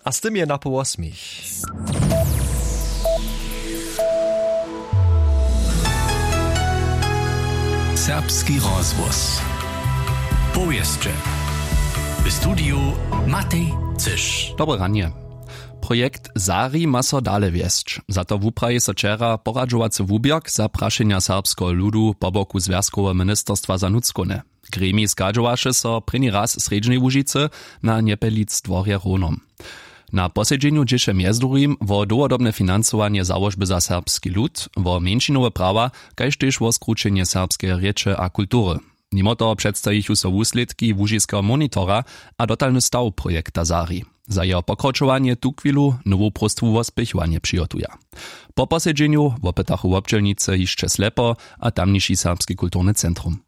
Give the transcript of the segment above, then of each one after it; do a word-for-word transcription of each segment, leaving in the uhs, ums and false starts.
A z tym je napoł wosmich. Serbski rozhłos. Powěsće. W studiju Matej Cyš. Dobre ranje. Projekt Zari ma so dale wjesć. Za to wupraji so wčera poradźowacy wuběrk za prašenja serbskeho ludu po boku Zwjazkoweho ministerstwa za nutřkowne. Gremij schadźowaše so prěni raz w Srjedźnej Łužicy na Njepelic dworje Rownom. Na posedźenju dźěše mjez druhim wo dołhodobne financowanje załožby za serbski lud, wo mjeńšinowe prawa, kaž tež wo skrućenje serbskeje rěče a kultury. Nimo toho předstajichu so wuslědki łužiskeho monitora a dotalny staw projekta Zari. Za jeho pokročowanje tuchwilu nowu próstwu wo spěchowanje přihotuja. Po posedźenju wopytachu wobdźělnicy hišće Slepo a tamniši Serbski kulturny centrum.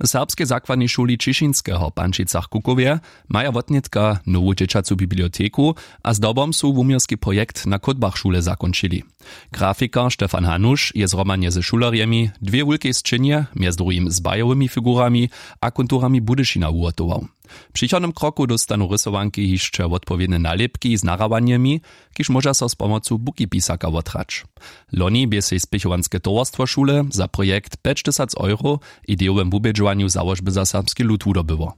W serbskej zakładnej šuli Ćišinskeho w Pančicach-Kukowje maja wotnětka nowu dźěćacu biblioteku a zdobom su wuměłski projekt na chódbach šule zakónčili. Grafikar Stefan Hanuš je zhromadnje ze šulerjemi dwě wulkej sćěnje, mjez druhim z bajowymi figurami a konturami Budyšina wuhotował. W přichodnym kroku dóstanu rysowanki hišće wotpowědne nalěpki z nahrawanjemi, kiž móža so z pomocu bukipisaka wotrać. Loni bě sej spěchowanske towarstwo šule za projekt pjećtysac euro w idejowym wubědźowanju załožby za serbski lud wudobyło.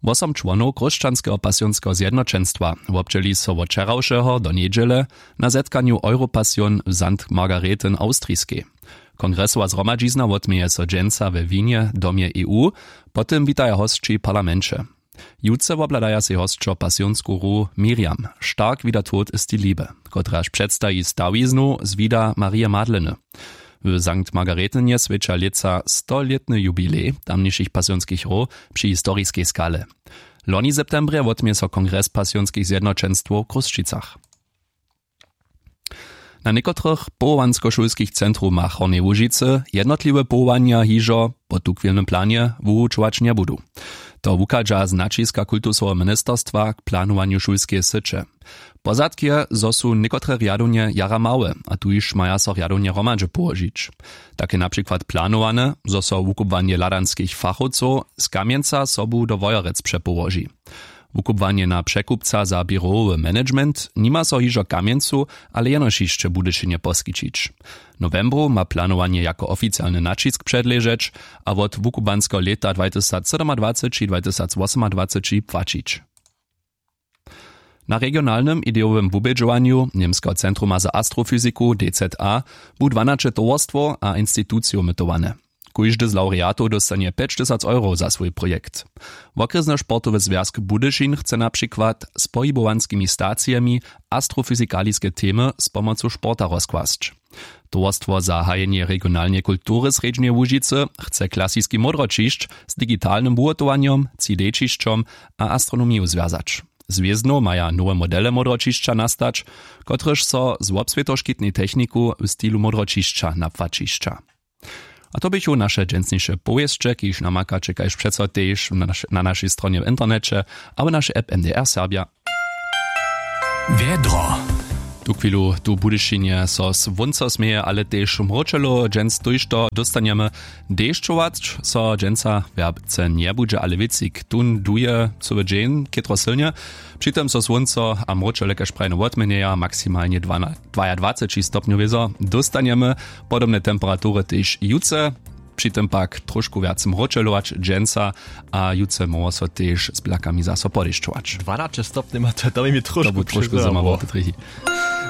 Wosom čłonow Chrósćanskeho pasionskeho zjednoćenstwa wobdźěli so wot wčerawšeho do njedźele na zetkanju Europasion w Sankt Margarethen Awstriskej. Kongresowa zhromadźizna wotměje so dźensa we Wienje w domje E U, po tym witaja hosći w parlamenće. Jutře wobhladaja sej hosćo pasionsku hru Miriam, stark wie der Tod ist die Liebe, kotraž předstaji stawiznu z wida Marije Madleny. W Sankt Margaretenje swjeća lětsa stolětny jubilej tamnišich pasionskich hrow při historiskej skale. Loni w septembrje wotměje so kongres pasionskich zjednoćenstwow w Chrósćicach. Na někotrych powołanskošulskich centrumach Hornjeje Łužicy jednotliwe powołanja hižo po tuchwilnym planje wuwučować njebudu. To wuchadźa z naćiska kultusoweho ministerstwa k planowanju šulskeje syće. Pozadk je, zo su někotre rjadownje jara małe a tuž maja so rjadownje hromadźe połožić. Tak je na přikład planowane, zo so wukubłanje hladanskich fachowcow z Kamjenca sobu do Wojerec přepołoži. Wukubłanje na překupca za běrowowy management nima so hižo w Kamjencu, ale jenož hišće w Budyšinje poskićić. W nowembru ma planowanje jako oficialny naćisk předležeć a wot wukubłanskeho lěta dwatysacsydomadwaceći dwatysacwosomadwaceći płaćić. Na regionalnym idejowym wubědźowanju Němskeho centruma za astrofyziku D Z A bu dwanaće towarstwow a institucijow mytowane. Kóždy z lawreatow dóstanje pjećtysac eurow za swój projekt. Wokrjesny sportowy zwjazk Budyšin chce na přikład z pohibowanskimi stacijemi astrofyzikaliske temy z pomocu sporta rozkłasć. Towarstwo za hajenje regionalneje kultury Srjedźneje Łužicy chce klasiski módroćišć z digitalnym wuhotowanjom, tři D ćišćom a astronomiju zwjazać. Z wěznow maja nowe modele módroćišća nastać, kotrež so z wobswětoškitnej techniku w stilu módroćišća napłaćišća. A to běchu naše dźensniše powěsće, kiž namakaće kaž přeco tež na naš-, na našej stronje w interneće abo našej app M D R Serbja. Wjedro. Tuchwilu tu w Budyšinje so słónco směje, ale tež mróčelo dźens tójšto dóstanjemy. Dešćować so dźensa wjerce njebudźe, ale wěcik tón duje cyły dźeń chětro sylnje. Při tym so słónco a mróčele kaž prajene wotměnjeja, maksimalnje dwana-, dwajadwaceći stopnjow wězo dóstanjemy. Podobne temperatury tež jutře. Při tym pak trošku wjac mróčelować dźensa a jutře móhło so tež z blakami zaso podešćować. Dwanaće stopnjema, to, to mi trošku, to bu trošku přezało. Zymawate trěchi.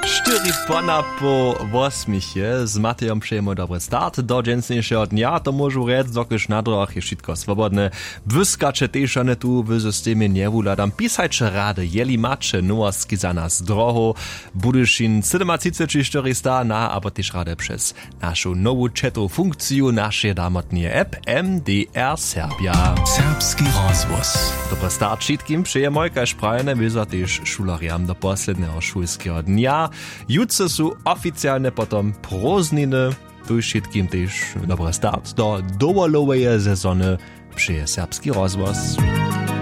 Štyri pona po wosmich je, z Matejom přejemy dobry start do dźensnišeho dnja. To móžu rjec, dokelž na drogach je wšitko swobodne. Błyskaće tež, a ne tu w systemje njewuhladam. Pisajće rady, jeli maće nowostki za nas z drohow. Budyšin sydomatřiceći štyristo na abo tež rady přez našu nowu četowu funkciju našeje damotneje app M D R Serbja. Serbski rozhłos. Dobry start wšitkim přejemoj, kaž prajene wězo tež šulerjam do posledneho šulskeho dnja. Jutře su oficialne potom prózdniny. Tuž wšitkim tež dobry start do dowoloweje sezony přeje Serbski rozhłos.